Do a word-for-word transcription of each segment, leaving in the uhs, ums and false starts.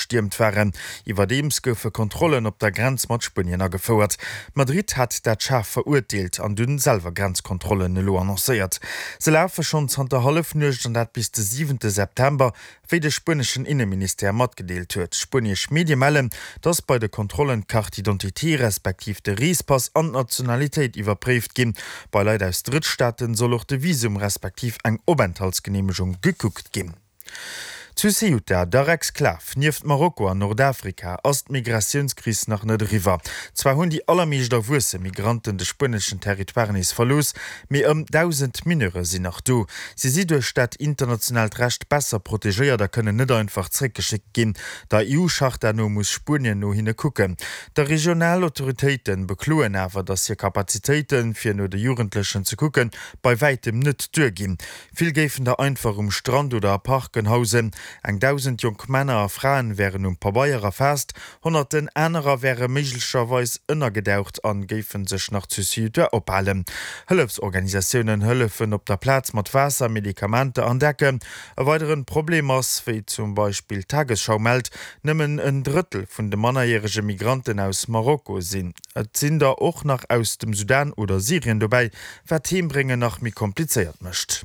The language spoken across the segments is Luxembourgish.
gestiermt waren. Iwwerdeems goufe Kontrollen op der Grenz mat Spuenien agefouert. Madrid hat dat schaarf verurteelt an dunn selwer Grenzkontrollen elo annoncéiert. Se lafe schonn zanter Hallefnuecht an dat bis de siwente September, wéi de spueneschen Inneministère matgedeelt huet. Spuenesch Medie mellen, datt bei de Kontrollen d'Carte d'identité respektiv de Reespass an d'Nationalitéit iwwerpréift ginn. Bei Leit aus Drëttstaaten soll och de Visum respektiv eng Openthaltsgeneemegung gekuckt ginn. Zu Ceuta, der Exklav nieft Marokko an Nordafrika, ass d'Migratiounskris nach net eriwwer. Zwar hunn déi allermeescht erwuesse Migranten de spueneschen Territoire nees verlooss, mee ëm dausend Mineure sinn nach do. Si si duerch dat internationaalt Recht besser protegéiert a kënnen net einfach zeréckgeschéckt ginn. Der E U-Charta no muss Spuenien no hinne kucken. Déi regional Autoritéite bekloen awer, datt hir Kapazitéiten, fir no de Jugendlechen ze kucken, bei wäitem net duerginn. Vill géifen der einfach um Strand oder a Parken hausen. Eng dausend jonk Männer a Fraen wären um Pabeier erfaasst, honnerten anerer wäre méiglecherweis ënnergedaucht a géife sech nach zu Ceuta ophalen. Hëllefsorganisatiounen hëllefen op der Plaz mat Waasser, Medikamenter an Decken. E weidere Problem ass, wéi zum Beispill d'Tagesschau mellt, nëmmen en Drëttel vun de mannerjärege Migranten aus Marokko sinn. Et sinn der och nach aus dem Sudan oder Syrien dobäi, wat d'Heembréngen nach méi komplizéiert mécht.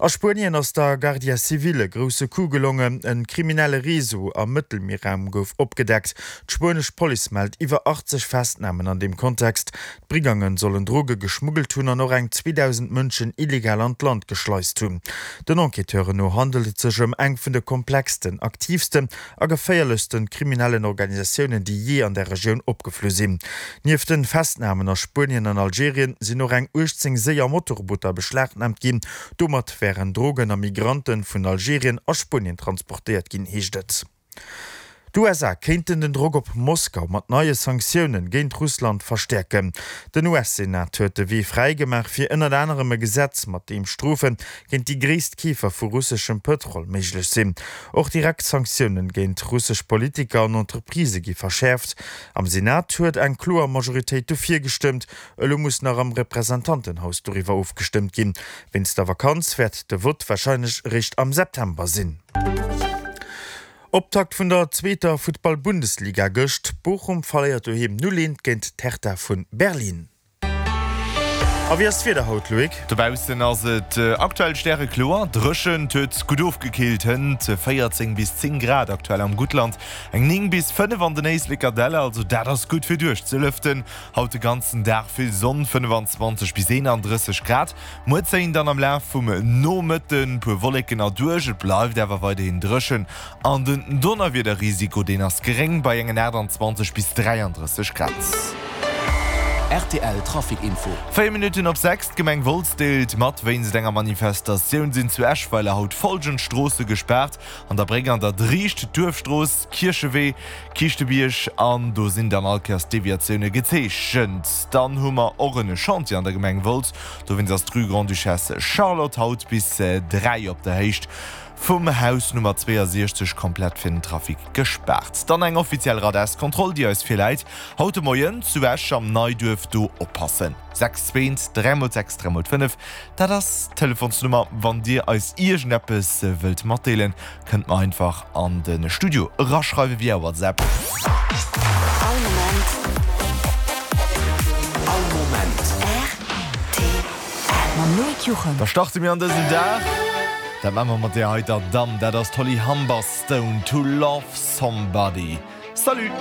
A Spuenien ass der Guardia Civil e grousse Coup gelongen, e kriminelle Réseau am Mëttelmierraum gouf opgedeckt. D'spuenesch Police mellt iwwer achtzeg Festnamen an deem Kontext. D'Brigange sollen Droge geschmuggelt hunn an och eng zweedausend Mënschen illegal an d'Land geschleist hunn. Den Enquêteuren no handelt et sech ëm eng vun de komplexsten, aktiivsten a geféierlechste kriminellen Organisatiounen, déi jee an der Regioun opgeflu sinn. Nieft de Festnamen a Spuenien an Algerien sinn och eng uechtzéng séier Motorbooter beschlagnaamt ginn. Domat wären Drogen a Migranten vun Algerien a Spuenien transportéiert ginn, heescht et. D'U S A kéinten den Drock op Moskau mat neie Sanktioune géint Russland verstäerken. Den U S-Senat huet de Wee fräi gemaach fir ënnert anerem e Gesetz, mat deem Strofe géint déi gréisst Keefer vu russeschem Pëtrol méiglech sinn. Och direkt Sanktioune géint russesch Politiker an Entreprisë gi verschäerft. Am Senat huet eng kloer Majoritéit dofir gestëmmt, elo muss nach am Representantenhaus doriwwer ofgestëmmt ginn. Wéinst der Vakanz wäert de Vott warscheinlech eréischt am September sinn. Optakt vun der zweeter Futtball-Bundesliga gëscht, Bochum verléiert doheem null eent géint d'Hertha vu Berlin. A wéi ass d'Wieder haut, Loïc? Dobaussen ass et aktuell stärekloer, dréchen, et huet gutt ofgekillt, hënt véierzéng bis zéng Grad aktuell am Guttland, eng néng bis fënnef an den Éisleker Däller, also dat ass gutt fir duerchzelëften. Haut de ganzen Dag vill Sonn, fënnefenzwanzeg bis eenandrësseg Grad. Muer zéien dann am Laf vum Nomëtten puer Wolleken erduerch, et bleift awer weiderhin dréchen an den Donnerwiederrisiko deen ass geréng bei engen aachtanzwanzeg bis dräiandrësseg Grad. R T L Trafic Info. Véier Minutten op sechs, D'Gemeng Wolz deelt mat, Wéinst enger Manifestatioun sinn zu Eschweiler haut follgend Stroosse gespaart, An der Bréck an der Driicht, Duerfstrooss, Kierchewee, Kiischtebierg an do sinn dann all Kéiers d'Deviatioune gezeechent. Dann hu mer och en Chantier an der Gemeng Wolz, dowéinst ass d'Rue Grande-Duchesse Charlotte haut bis dräi op der Héicht vum Haus Nummer zweeasiechzeg komplett fir den Trafic gespaart. Dann eng offiziell Radarskontroll, déi eis virläit haut de Moien zu Esch am Neiduerf. Do oppassen, sechs zwee dräi mol sechs dräi mol fënnef, dat ass d'Telefonsnummer. Wann Dir eis iergendeppes wëllt matdeelen, kënnt mer einfach an de Studio eraschreiwe via WhatsApp. All Moment. All Moment. R T L. Mam Loïc Juchem. Da starte mir an dësen Dag. Dat maache mer mat där heiter Damm, dat ass d'Holly Humberstone, To Love Somebody. Salut!